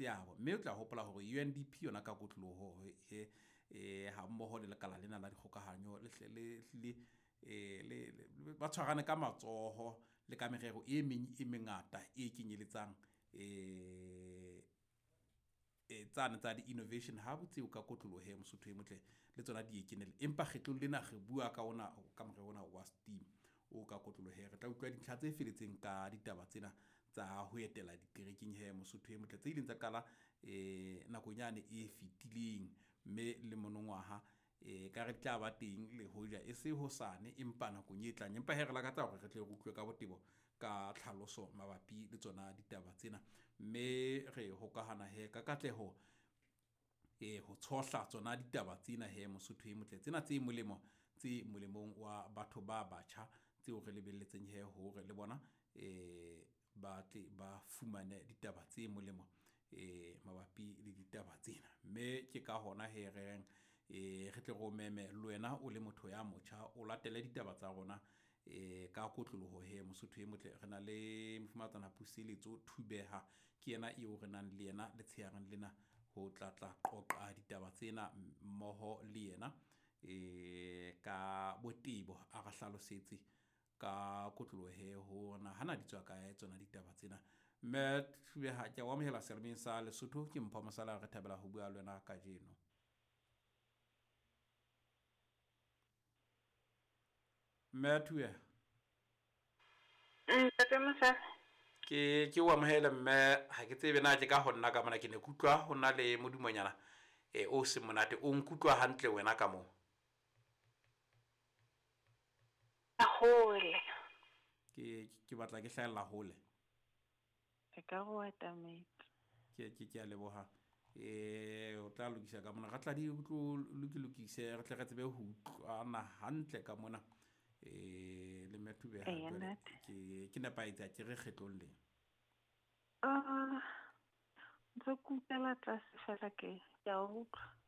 seabo. Mme o tla hopola hore UNDP yona ka kotloloho he ha mmoho le lekala lena la dikgokahanyo le hle le hlile le ba tshwarane ka matsoho le ka merero e meng e mengata e kenyeletsang tsane tsa di-innovation hub tseo ka kotloloho he Mosotho e motle le tsona di e kenele. Empa kgetlong lena re bua ka ona ka morero ona wa STEAM o ka kotloloho he. Re tla utlwa dintlha tse feletseng ka ditaba tsena tsa ho etela diterekeng he Mosotho e motle tse ileng tsa qala nakong yane e fetileng, mme le monongwaha ka re tla ba teng le hoja e se hosane empa nakong e tlang. Empa he re lakatsa hore re tle re utlwe ka botebo ka tlhaloso mabapi le tsona ditaba tsena, mme re hokahana he ka katleho ho tshohla tsona ditaba tsena he Mosotho e motle, tsena tse molemo tse molemong wa batho ba batjha tseo re lebelletseng he hore le bona ba tle ba fumane ditaba tse molemo mabapi le ditaba tsena. Mme ke ka hona he re reng re tle re o meme le wena o le motho ya motjha o latele ditaba tsa rona ka kotloloho he Mosotho e motle. Re na le mofumahatsana Puseletso Thubeha, ke yena eo re nang le yena letshehareng lena ho tla tla qoqa ditaba tsena mmoho le yena ka botebo, a re hlalosetse ka kotloloho he ho na hana di tswa kae tsona ditaba tsena. Mme Thubeha, ke a o amohela selemeng sa Lesotho. Ke Mpho Mosala, re thabela ho bua le wena kajeno. Mme Thubeha. Ntate Mosala. Ke o amohele mme, ha ke tsebe na ke ka ho nna ka mona ke ne ke utlwa ho na le modumonyana o seng monate. O nkutlwa hantle wena ka moo? Hole. Ke batla ke hlahella hole. E ka go atametse. Ke a leboha. O tla lokisa ka mona. Re tla di tlo lokise re tle re tsebe ho utlwana hantle ka mona. Le mme Thubeha Eya, jwale ntate. ke nepahetse ha ke re kgetlong le. Ntse ke utlwela tlase fela ke a utlwa.